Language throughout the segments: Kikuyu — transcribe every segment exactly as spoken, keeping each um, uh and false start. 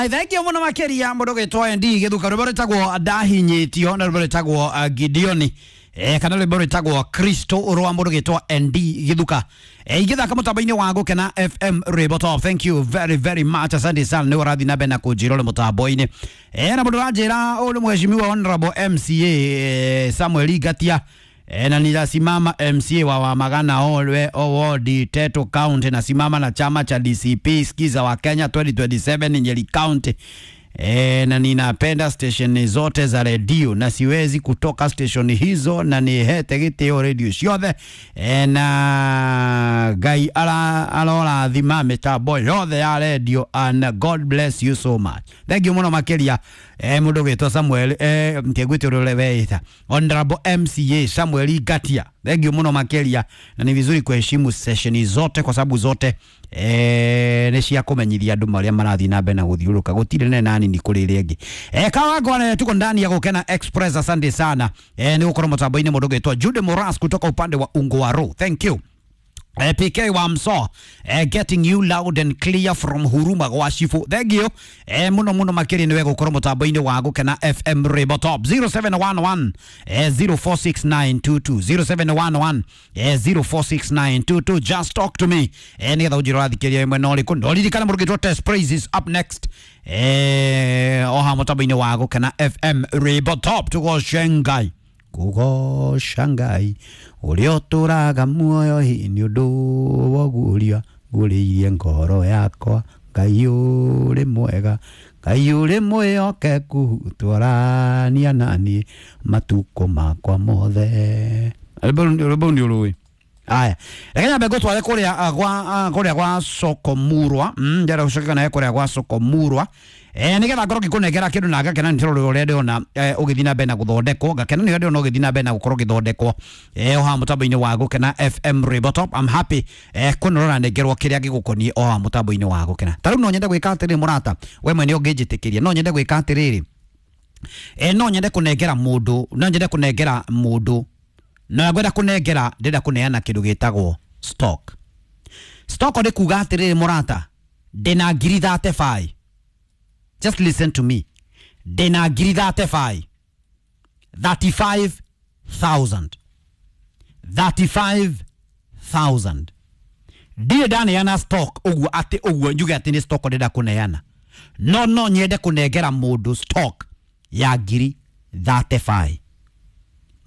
Alright, thank you muno makiria mundu gwitwo N D githuka rwimbo rwitagwo ndahinyitio na rwimbo rwitagwo uh, Gideoni eh, kana rwimbo rwitagwo Kristo rwa mundu gwitwo N D Githuka eh, igithaka mutambo-inĩ wa Gũkena F M Rwimbo Top. Thank you very very much, asante sana nĩ ũrathiĩ na mbere na kũnjĩra ũrĩ mũtambo-inĩ eh, na mũndũ ũranjĩra ũyũ nĩ mheshimiwa Honorable M C A eh, Samuel Ngatia E, na nitasimama M C A wa Wamagana Olwe Ward, Teto County, nasimama na chama cha D C P Skiza wa Kenya twenty twenty-seven Nyeri County. E, na ninapenda station zote za redio na siwezi kutoka station hizo na nihete gitio redio ciothe e, na Ngai ara arorathima mitambo yothe ya redio and God bless you so much. Thank you muno makiria e, mundu gwitwo Samuel e, ntigwite uria weita Honorable M C A Samuel Ngatia. Thank you muno makiria, na ni vizuri kuheshimu session zote kwa sababu zote eh nĩ cia kũmenyithia andũ marĩa marathiĩ na mbere na gũthiũrũrũka gũtirĩ ne nani ni kũrĩ ĩrĩa ĩngĩ eh kawangwane tuko ndani ya Gũkena Express. Asante sana eh nĩ gũkorwo mũtambo-inĩ mũndũ ũgĩtwo Jude Moras kutoka upande wa Ungwaro, thank you. Eh, P K wa Mso eh, getting you loud and clear from Huruma Gwashifu, thank you eh, muno muno makiri niwe gukorwo mutambo-inĩ wa Gũkena F M Rwimbo Top. zero seven one one eh, zero four six nine two two, zero seven one one eh, zero four six nine two two, just talk to me eh, nigetha ũnjĩre ũrathikĩrĩria mwena ũrĩkũ. No ririkana mũndũ ũgĩtwo Test Praises up next eh, oha mutambo-inĩ wa Gũkena F M Rwimbo Top. Tũgoce Ngai, kũgoca Ngai ũrĩa ũtũraga muoyo hi nĩ ũndũ woguũria ngũrĩirie ngoro yakwa. Ngai ũrĩ mwega, Ngai ũrĩ mwĩhokeku, twarania naniĩ matukũ makwa mothe. Rwĩmbo nĩ ũrũĩ. Aya, reke nyambe ngũtware kũrĩa ah, gwa ah, kũrĩa gwa Sokomurwa mm, ndĩrenda gũcoka nawe kũrĩa gwa Sokomurwa eh nigetha ngorwo ngĩkũnengera kĩndũ na ngakena nĩ tondũ ũrĩa ndĩrona eh, ũgĩthiĩ na mbere na gũthondekwo. Ngakena nĩ ũrĩa ndĩrona ũgĩthiĩ na mbere na gũkorwo ũgĩthondekwo eh o haha mũtambo-inĩ wa Gũkena F M Rwimbo Top. I'm happy eh kuona ũranengerwo kĩrĩa gĩgũkoniĩ o haha mũtambo-inĩ wa Gũkena. Ta rĩu no nyende gwĩka atĩrĩrĩ, mũrata we mwene ũngĩnjĩtĩkĩria, no nyende gwĩka atĩrĩrĩ eh no nyende kũnengera mũndũ, no nyende kũnengera mũndũ na ngwenda kũnengera, ndĩrenda kũneana kĩndũ gĩtagwo stock. Stock nĩ kuga atĩrĩrĩ, mũrata, ndĩna ngiri thirty-five. Just listen to me, ndĩna ngiri thirty-five, thirty-five thousand, thirty-five thousand. Ndirĩ ndaneana stock ũguo atĩ ũguo njuge atĩ nĩ stock ndĩrenda kũneana, no no nyende kũnengera mũndũ stock ya ngiri thirty-five,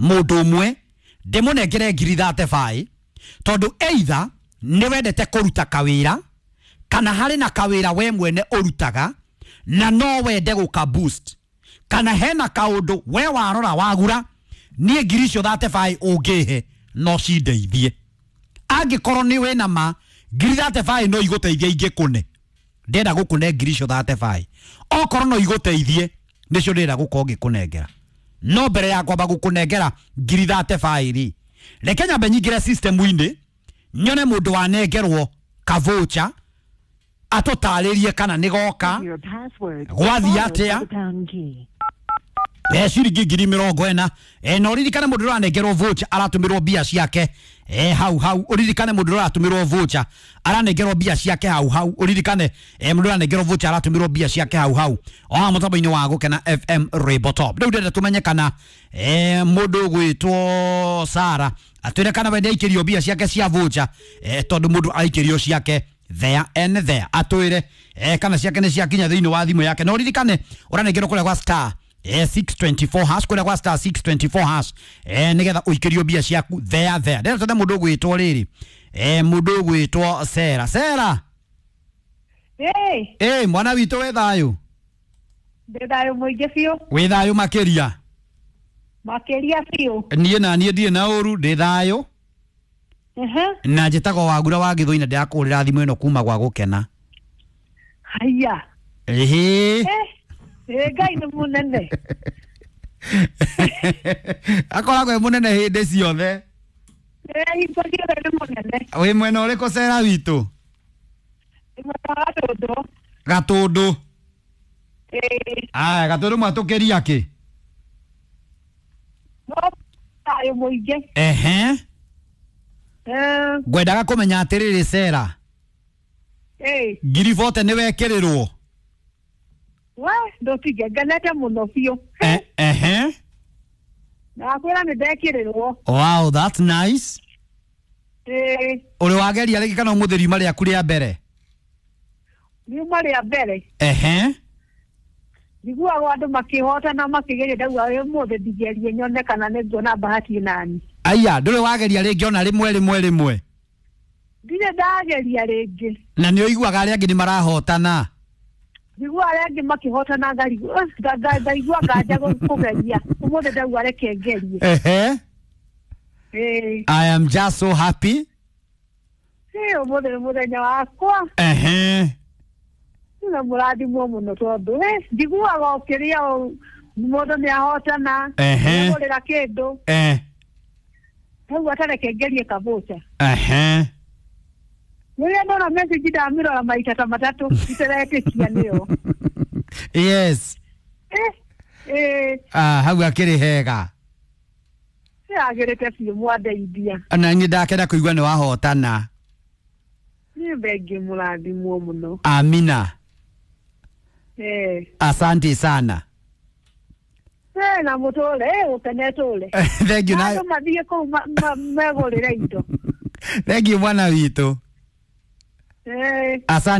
mũndũ ũmwe ndĩmũnengere ngiri thirty-five tondũ either nĩ wendete kũruta kawĩra kana harĩ na kawĩra we mwene ũrutaga na no wende gũka boost kana hena kaũndũ we warora wagura niĩ ngiri icio thirty-five ũngĩhe no cindeithie. Angĩkorwo nĩ wĩna ma ngiri thirty-five no igũteithie ingĩkũne, ndĩrenda gũkũne ngiri icio thirty-five. Okorwo no igũteithie, nĩcio ndĩrenda gũkorwo ngĩkũnengera. No mbere ya kwamba gũkũnengera ngiri thirty-five rĩ, reke nyambe nyingĩre system-inĩ nyone mũndũ wanengerwo kavũcha atũtarĩrie kana nĩ goka Your password. Gwathiĩ followed by atĩa? the pound key. e ciringi ngiri mĩrongo ĩna e na ũririkane mũndũ ũranengerwo voucher aratũmĩrwo mbia ciake e hau hau. Ũririkane mũndũ ũratũmĩrwo voucher aranengerwo mbia ciake hau hau. Ũririkane e mũndũ ũranengerwo voucher aratũmĩrwo mbia ciake hau hau o haha mũtambo-inĩ wa Gũkena F M Rwimbo Top. Rĩu ndĩrenda tũmenye kana e mũndũ ũgwĩtwo Sara atwĩre kana we nĩaikĩrio mbia ciake cia voucher e tondũ mũndũ aikĩrio ciake there and there, atwĩre e kana ciake nĩ ciakinya thĩinĩ wa thimũ yake. Na ũririkane ũranengerwo kũrĩa gwa star eh, six twenty-four hash, kũrĩa gwa star six twenty-four hash eh, nĩgetha ũikĩrio mbia ciaku there there. Ndĩrenda tũthe mũndũ ũgwĩtwo rĩrĩ eh, mũndũ ũgwĩtwo Sera. Sera. Ĩĩ, eh, mwana witũ, wĩ thayũ? Ndĩ thayũ mũingĩ biũ. Wĩ thayũ makĩria? Makĩria biũ. Niĩ na niĩ ndirĩ na ũru, ndĩ thayũ. Ehe. Na njĩtagwo Wagura wa Gĩthũi na ndĩrakũhũrĩra thimũ ĩno kuma gwa Gũkena. Haiya. Ĩhĩ. Eh, ĩ Ngai nĩ mũnene. Akoragwo e mũnene hĩndĩ ciothe. Ĩ hingo ciothe nĩ mũnene. Wĩ mwena ũrĩkũ, Sera witũ? Nĩ mwena wa Gatũndũ. Gatũndũ? Ĩ. Aya, Gatũndũ mwatũkĩria kĩ? No thayũ mũingĩ. Ehe. Eh, ngwendaga kũmenya atĩrĩrĩ, Sera, ĩ ngiri bote nĩ wekĩrĩrwo? We ndũtige ngenete mũno biũ. Eh, ehe. Ndakwĩra nĩ ndekĩrĩrwo. Wow, that's nice. Ĩĩ. Ũrĩ wageria rĩngĩ kana ũmũthĩ riuma rĩaku rĩa mbere? Riuma rĩa mbere. Ehe. Njiguaga andũ makĩhotana makĩgeria, ndauga ũmũthĩ ndigerie nyone kana nĩ nguona bahati nani. Aya, ndũrĩ wageria rĩngĩ ona rĩmwe rĩmwe rĩmwe? Ndirĩ ndageria rĩngĩ. Na nĩ ũiguaga arĩa angĩ nĩ marahotana? Njigua arĩa angĩ makĩhotana ngarigwo, eh, nga- nga- ngaigua nganja gũ- kũgeria. Ũmũthĩ ndauga reke ngerie. Ehe. Ĩĩ. I am just so happy. Ĩĩ, ũmũthĩ nĩ mũthenya wakwa. Ehe. Na mũrathimwo mũno tondũ eh, njiguaga ũkĩrĩa ũũ, mũndũ nĩ ahotana. Ehe. Nĩagũrĩra kĩndũ. Eh. Ndauga ta reke ngerie kabũca. Ehe. Rĩrĩa ndona message ndamĩrora maita ta matatũ iteretĩkia nĩyo. Yes. Eh, eh, Ah, hau akĩrĩ hega. Nĩyagĩrĩte biũ mwandeithia. Na niĩ ndakenda kũigua nĩ wahotana. Nĩ thengiũ, mũrathimwo mũno. Amina. Eh. Asante sana. Eh, na mũtũre, eh, ũkene tũre. Thank you na Andũ mathiĩ kũu ma- ma- megũrĩre indo. Thank you mwana witũ. Eh. Asante.